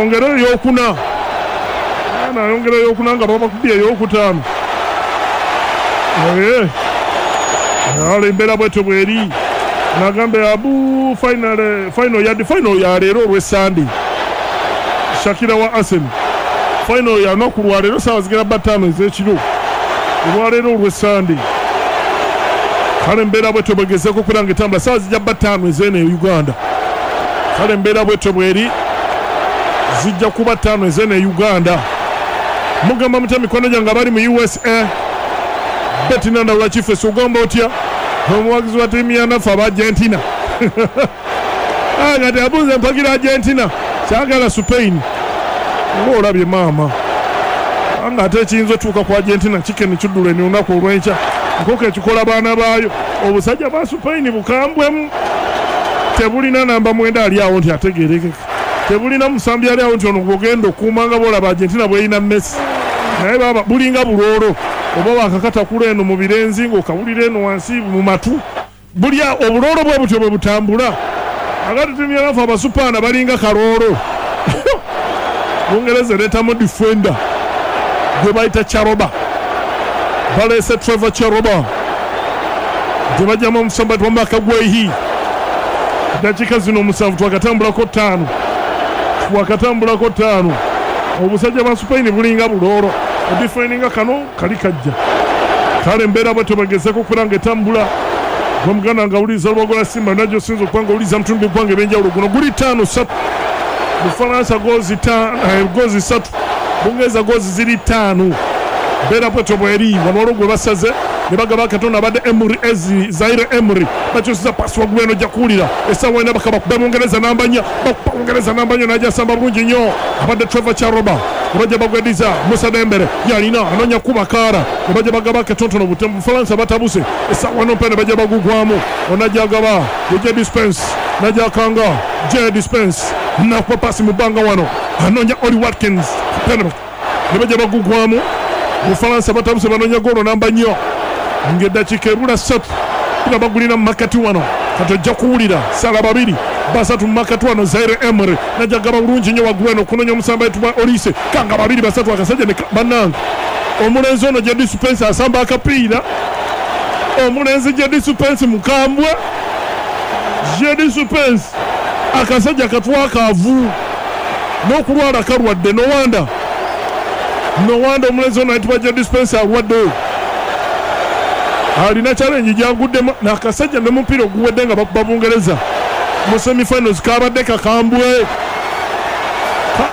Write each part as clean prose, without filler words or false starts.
Ayongere eyokuna. Ana ayongera eyokuna nga babakubye eyokutaano. Naye ale embeera bwetyo bweri. Nagambe abu final final ya final ya leero olw'Essande. Shakira wa Arsenal. Final ya lunaku lwa leero saawa zigera bba ttaano ez'ekiro. Olwaleero olw'Essande. Kale embeera bwetyo bwegezeeko okubeera nga etambula saawa zijja bba ttaano ez'eno e Uganda. Kale embeera bwetyo bweri zijja kuba ttaano ez'eno e Uganda. Mugamba mutya mikwano gyange abali mu USA? Betty Nandawula Kifesi ogamba otya? Omuwagizi wa ttiimu ya naffe aba Argentina. Ah, kati abuuze mpagira Argentina, saagala Spain. Oba olabye maama. Kubanga ate ekiyinza otuuka ku Argentina kikeni kiddula olunaku olw'enkya. Nkoko ekikola baana baayo. Obusajja bwa Spain bukambwemu. Tebulina namba mwenda ali awo nti ategeerekeka. Tebulina musambi ali awo nti ono gw'ogenda okukuuma nga bw'olaba Argentina bw'erina Messi. Naye baaba bulinga buloolo oba waakakatakula eno mu birenzi ng'okawulira eno wansi mu matu. Bulya obuloolo bwe butyo bwe butambula. Akati ttiimu y'abafu Abasupaana balinga kaloolo. Bungereza ereetamu difenda gwe bayita Charoba. Baleese Trevor Charoba gye baggyamu omusamba gwa Mark Guehi. Eddakiika zino omusanvu twakatambulako ttaano. Twakatambulako ttaano. Obusajja bwa Spain bulinga buloolo. Odifendinga kano kali kajja. Kale embeera bwetyo bwegezeeko okubeera nga etambula. Gwe muganda nga awuliriza Lubago lwa Simba yonna gy'osinza okuba nga owuliriza mu bitundu by'eggwanga eby'enjawulo. Guno guli ttaano ssatu. Bufalansa goozi goozi ssatu. Bungereza goozi ziri ttaano. Mbeera bwetyo bweri. Wano waliwo gwe basaze ne bagaba akatono abadde Emery Ezi Zaire Emery. Bakyusiza paasi waggulu eno ojja kuwulira. Essaawa ena bakaba bakube Bungereza namba nnya. Bakuba Bungereza namba nnya n'ajja asamba bulungi nnyo. Abadde Trevor Chalobah. Ne bajja bagwediza Musa Dembele yalina anoonya kukuba kaara. Ne bajja bagaba akatonotono butemu. Bufalansa batabuse. Essaawa eno omupiira ne bajja bagugwamu. Ono ajja agaba ye Jed Spence. N'ajja akanga Jed Spence n'akuba paasi mu bbanga wano. Anoonya Ollie Watkins. Omupiira ne bajja bagugwamu. Bufalansa batabuse banoonya goolo namba nnya ng'eddakiika ebula ssatu. Omupiira bagulina mu makkati wano. Kati ojja kuwulira sala babiri basatu mu makkati wano. Zaire Emery n'ajja agaba bulungi nnyo waggulu eno okunoonya omusambi ayitibwa Olise. Kanga babiri basatu akasajja ne bannange. Omulenzi ono Jed Spence asamba akapiira. Omulenzi Jed Spence mukambwe. Jed Spence akasajja katwakaavu n'okulwala kalwadde. No wonder, no wonder omulenzi ono ayitibwa Jed Spence alwadde. Alina challenge gy'aguddemu n'akasajja ne mupiira oguwedde nga bakuba Bungereza mu semi-finals kabadde kakambwe.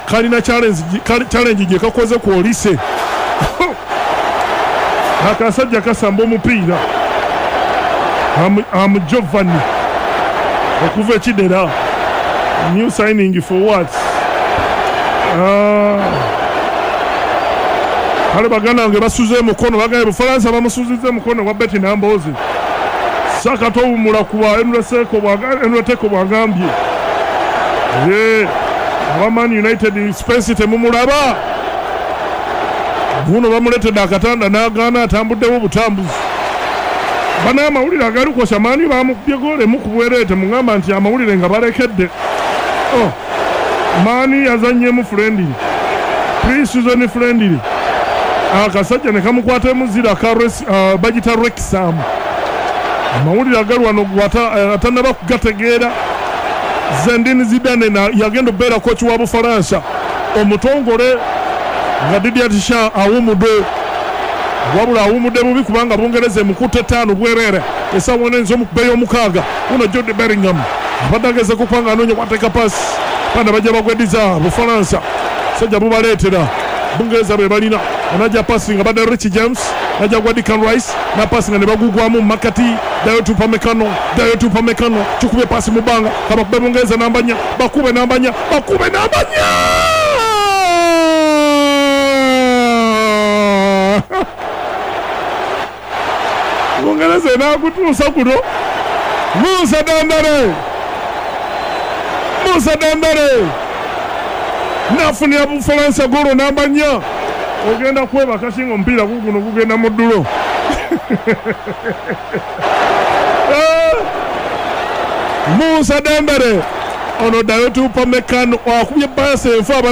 Kalina challenge gye kakoze ku Olise. Akasajja kasamba omupiira. Am Giovanni okuva e Kidera. New signing for what? Kale baganda bange basuze emukono, bagambye Bufalansa bamusuzizza emukono wa Betty Nambooze. Saka towummula kuba Enreteko bw'agambye. Ye aba Man United Spence temumulaba. Guno bamuleetedde akatanda n'agaana atambuddewo butambuzi. Bano amawulire agalikosa Man bamukubye goolo emu ku bwereere temugamba nti amawulire nga balekedde. Oh, Man yazannyemu friendly. Pre-season friendly. Akasajja ne kamukwata emuzira ka bagita Wrexham. Amawulire agali wano atannaba kugategeera. Zinedine Zidane yagenda okubeera coach wa Bufalansa omutongole nga Didier Deschamps awumudde. Wabula awumudde bubi kubanga Bungereza emukutte ttaano bwereere. Essaawa eno eyinza omukuba ey'omukaaga. Wuno Jude Bellingham abadde agezaako okuba nga anoonya wateeka paasi. Baana bajja bagwediza Bufalansa. Sajja bubaleetera. Bungereza be balina. Onajja paasi nga badde Richie James. Najja gwa Declan Rice. Na paasi nga ne bagugwamu mu makkati. Dayot Upamecano. Dayot Upamecano. Kikubye paasi mu bbanga. Kabakube Bungereza namba nnya. Bakube namba nnya. Bakube namba nnya! Bungereza enaakutuusa kuno. Musa Dembele. Musa Dembele. N'afunira Bufalansa goolo namba nnya. Ogenda kwebaka singa omupiira guguno gugenda mu ddulo. Musa Dembele Ono Dayot Upamecano akubye paasi enfu abadde.